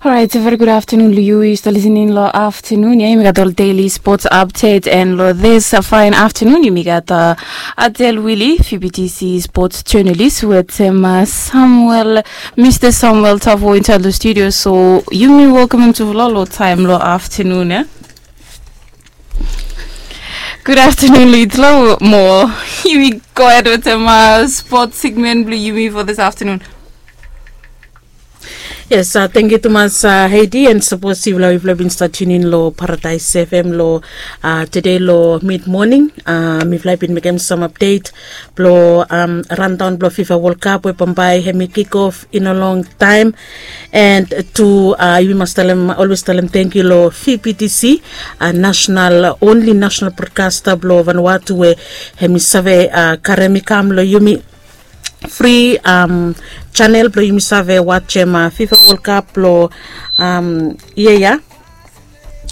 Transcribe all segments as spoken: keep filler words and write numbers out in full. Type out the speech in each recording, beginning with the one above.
Orait, very good afternoon long yu. Yu stap listening long afternoon ya. Yumi gat ol daily sports update, and long this fine afternoon yumi gat Adel Willie, F B T C sports journalist, wetem Samuel, Mr Samuel Tavo inside the studio. So yumi welcome him to Vlolo time long afternoon ya. Good afternoon, Litlo. Mo yumi go ahead wetem sports segment blong yumi for this afternoon. Yes, thank you tumas, Heidi, and sapos yufala yufala bin stap tunin long Paradise F M long today long mid morning, mifala bin mekem sam update blong rundown blong FIFA World Cup we bambae hemi kick off in a long time. And tu yumi mas talem, always talem thank you long V P T C, national, only national broadcaster blong Vanuatu we hemi save karem i kam long yumi free channel blong yumi save wajem FIFA World Cup blong yia ya,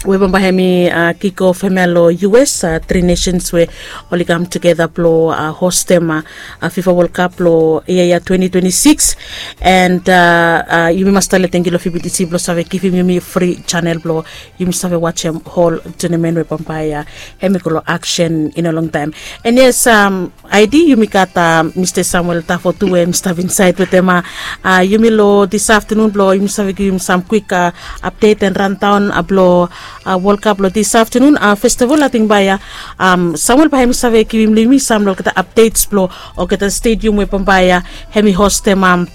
we bambae hemi kick off hemia long U S, three nations we oli kam tugeta blong hostem FIFA World Cup blong yia ya twenty twenty-six. And yumi mas talem thank you long V P T C blong save givim yumi free channel blong yumi save wajem hol tournament we bambae hemi go long action in a long time. And yes, Heidi, yumi gat Mr Samuel Tavo tu we hemi stap insait wetem yumi long this afternoon blong yumi save givim sam kwik update and rundown blong World Cup long this afternoon. First of all, ating bae Samuel bae hemi save givim long yumi sam long olgeta updates blong olgeta stadium we bambae hemi hostem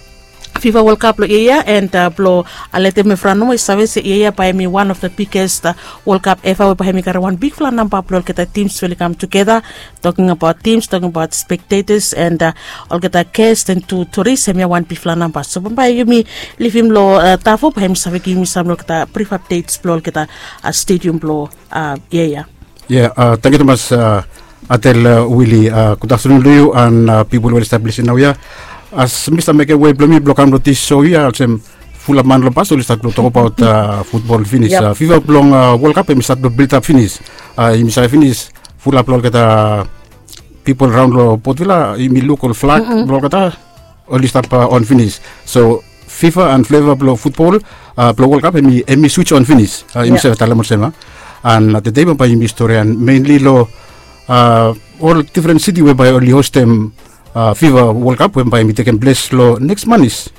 FIFA World Cup long yia ya, and blong letem evriwan nomo i save se yia ya bae hemi one of the biggest World Cup ever we bae hemi karem wan bigfala namba blong olgeta teams we oli kam tugeta. Talking about teams, talking about spectators, and olgeta guest and tu tourist, hemia wan bigfala namba. So bambae yumi livim long Tavo bae hemi save givim yumi sam long olgeta brief updates blong olgeta stadium blong yia ya. Yeah, thank you tumas, Adel Willie. Good afternoon long yu and pipol we oli stap lisin naoia. As mi stap mekem wei blong mi blong kam long this show ya, olsem fulap man long bas oli stap blong tokbaot futbol finis. FIFA blong World Cup hemi stap blong biltap finis. Yumi save finis fulap long olgeta pipol raon long Port Vila, yumi luk ol flag blong olgeta oli stap on finis. So FIFA and fleva blong futbol blong World Cup hemi switch on finis. Yumi save talem olsem. And tede bambae yumi storian mainly long ol difren siti we bae oli hostem FIFA World Cup we bae hemi tekem ples long neks manis.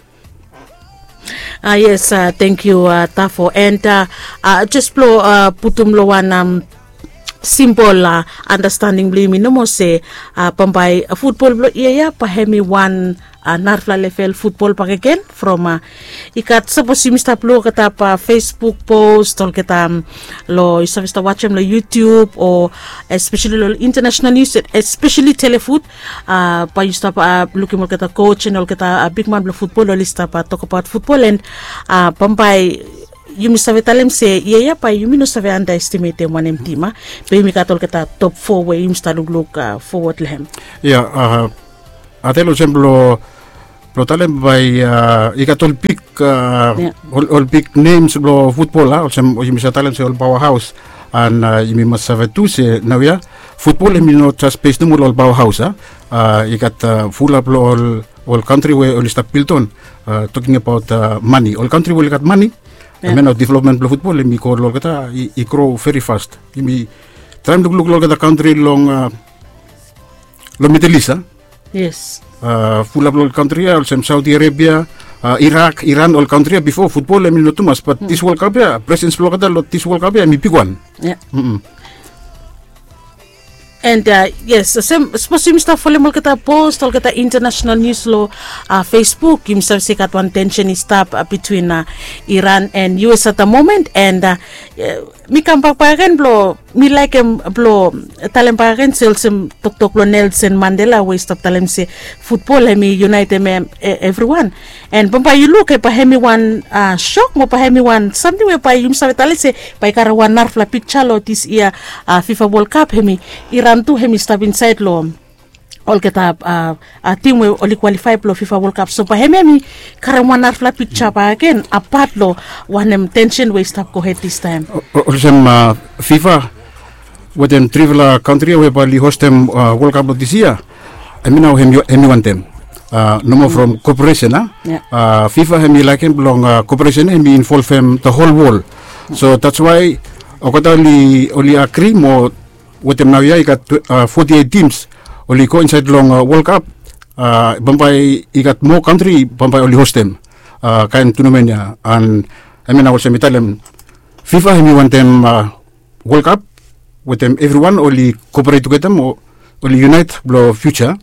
Yes, thank you Tavo. And jes blong putum long wan simbol andastanding blong yumi nomo se bambae futbol blong yia ya bae hemi wan narafala level futbol bakegen from i gat, sapos yumi stap luk olgeta Facebook post, olgeta long yu save stap wajem long YouTube o especially long international news, especially Telefoot, bae yu stap lukim olgeta coach and olgeta bigman blong futbol oli stap tokbaot futbol. And bambae yumi save talem se yia ya bae yumi no save underestimatem wanem tim, bae yumi gat olgeta top four we yumi stap lukluk forward long hem. Ya, Adel, olsem blong talem bae i gat ol big, ol big names blong futbol, olsem yumi save talem se ol powerhouse. And yumi mas save tu se naoia futbol hemi no jes bes nomo long ol powerhouse. I gat fulap long ol kantri we oli stap build on, talking about mane, ol kantri we oli gat mane, hemia nao development blong futbol hemi go long olgeta, i grow very fast. Yumi traem lukluk long olgeta kantri long long Middle East. Yes. Fulap long ol kantri ya olsem Saudi Arabia, Iraq, Iran, ol kantri ya bifo futbol hemi no tumas, but this World Cup ya, presens blong olgeta long this World Cup ya hemi bigwan. And yes, olsem sapos yumi stap folem olgeta post, olgeta international news long Facebook, yumi save se i gat wan tension i stap between Iran and U S at the moment. And mi kam bak bakegen blong mi laekem blong talem bakegen se olsem toktok blong Nelson Mandela we i stap talem se futbol hemi unaetem evriwan. And bambae yu luk bae hemi wan shok mo bae hemi wan samting we bae yumi save talem se bae i karem wan narafala piksa long this yia FIFA World Cup, hemi Iran tu hemi stap insaed long olgeta tim we oli kwalifae blong FIFA World Cup. So bae hemia hemi karem wan narafala piksa bakegen apat long wanem tension we i stap gohed this time. Olsem FIFA wetem trifala kantri ya we bae oli hostem World Cup blong this yia, hemi nao hemi wantem. Nomo from koperesen a. Fifa hem i laekem blong koperesen hem i involvem the whole world. So that's why olgeta oli agri mo wetem naoia i gat forty-eight tims oli go insaed long world cup. Bambae i gat moa kantri bambae oli hostem kaen tunamen ya. An hem ya nao olsem mi talem, fifa hem i wantem world cup wetem evriwan oli koperate tugeta mo oli unaet blong fiuja.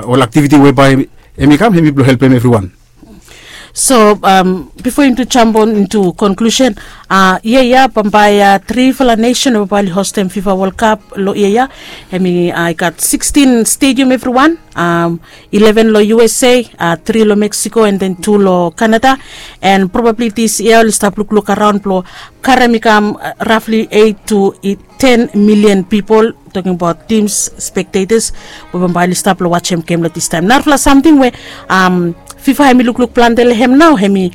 Ol aktiviti we bae hem i kam hem i blong helpem evriwan. So bifo yumi tu jambon intu konklusen, yia ya bambae trifala nesen we bambae oli hostem fifa wol kap long yia ya, hem i gat sikstin stedium evriwan, ileven long usa, tri long meksiko an den tu long kanada. An probabli dis yia oli stap lukluk araon blong karem i kam rafli eit tu ten milian pipol, toking abaot tims, spektetas we bambae oli stap long wajem gem long distaem. Narafala samting we fifa hem i lukluk plante long hem nao hem i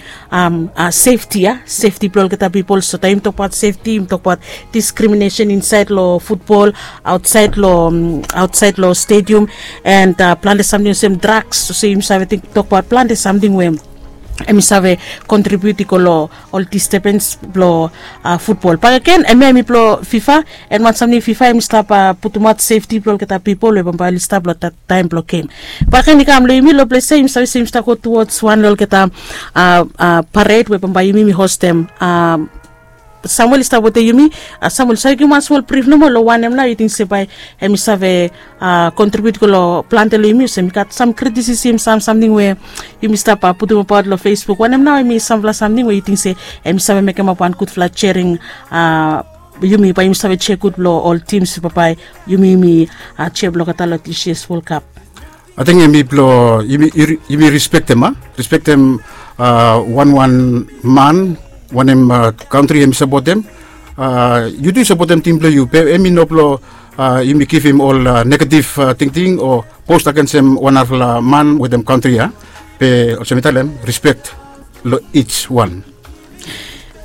sefti ya, sefti blong olgeta pipol. So taem yumi tokbaot sefti yumi tokbaot diskriminesen insaed long futbol, aotsaed long stedium, an plante samting olsem draks olsem yumi save tokbaot plante samting we hem i save kontribiut i go long ol distebens blong futbol bakegen. Hem ya hem i blong fifa, an wan samting fifa hem i stap putumaot sefti blong olgeta pipol we bambae oli stap long taem blong gem. Bakegen i kam long yumi long ples ya yumi save se yumi stap go tuwods wan long olgeta pared we bambae yumi yumi hostem. Samuel i stap wetem yumi. Samuel save givim wan smol brif nomo long wanem nao yu ting se bae hem i save kontribiut go long plante long yumi olsem i gat sam kritisisim sam samting we yumi stap putumabaot long facebook wanem nao hem i samfala samting we yu ting se hem i save mekemap wan gudfala jering yumi bae yumi save jek gud long ol tims bambae yumi yumi jek blong olgeta long dis yias wol kap. Ating hem i blong yumi rispektem a, rispektem wanwan man wanem kantri hem i sapotem. Yu tu yu sapotem tim blong yu be hem i no blong yumi givim ol negativ tingting o post agensem wan narafala man wetem kantri ya. Be olsem mi talem, rispek long ij wan.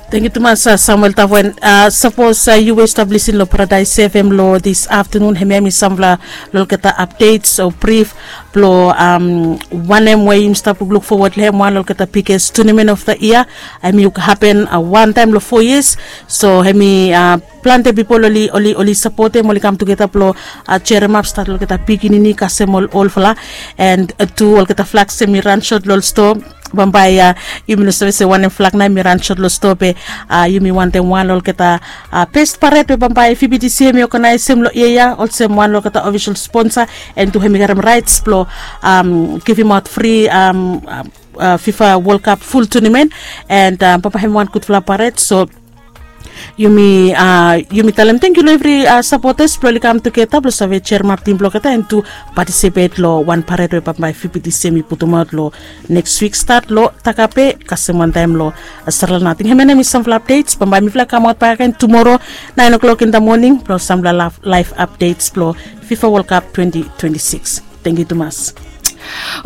Tangkiu tumas samuel tavoen. Sapos yu we yu stap lisin long paradaes fm long dis aftanun hemia mi samfala long olgeta apdets o brif blong wanem we yumi stap lukluk fowad long hem wan long olgeta biges tunamen of the yia. Hem i hapen wantaem long fo yias. So hem i plante pipol oli sapotem oli kam tugeta blong jeremap stat long olgeta pikinini kasem ol olfala. An tu olgeta flaks hem i ran sot long ol stoa. Bambae yumi no save se wanem flak nao hem i ran sot long stoa be yumi wantem wan long olgeta best paret we bambae fibitisi hem i oganaesem long yia ya olsem wan long olgeta ofisol sponsa. An tu hem i garem raets blong givimaot fri fifa wolkap ful tunimen. An bambae hem i wan gudfala paret so yumi talem tangkiu long evri sapotas blong oli kam tugeta blong save jeremap tim blong olgeta an tu patisipet long wan paret we bambae fibitisi hem i putumaot long neks wik stat long takape kasem wantaem long sarala nating hem ya na mi samfala apdets bambae mifala kamaot bakagen tumoro naen oklok in da moning blong samfala laef apdets blong fifa wolkap twenti twenti sikis. Tangkiu tumas.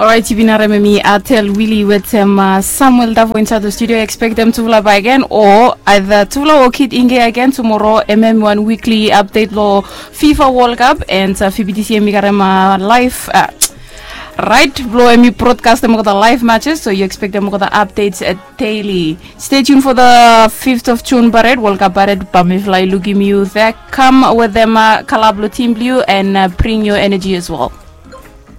Orait yu bin harem em i atel wili wetem samuel davo insaed long studio. Ekspektem tufala bakagen o aeda tufala o kid inge agen tumoro em em i wan wikli apdet long fifa wolkap and fibitisi em i garem laef rait blong em i brodkastem olgeta laef matches so yu ekspektem olgeta apdets. Deli. Stay tuned for the fifth of june pared wolkap pared bamifala i lukim yu thek kam wetem kalap long tim blong yu and bring your energy as well.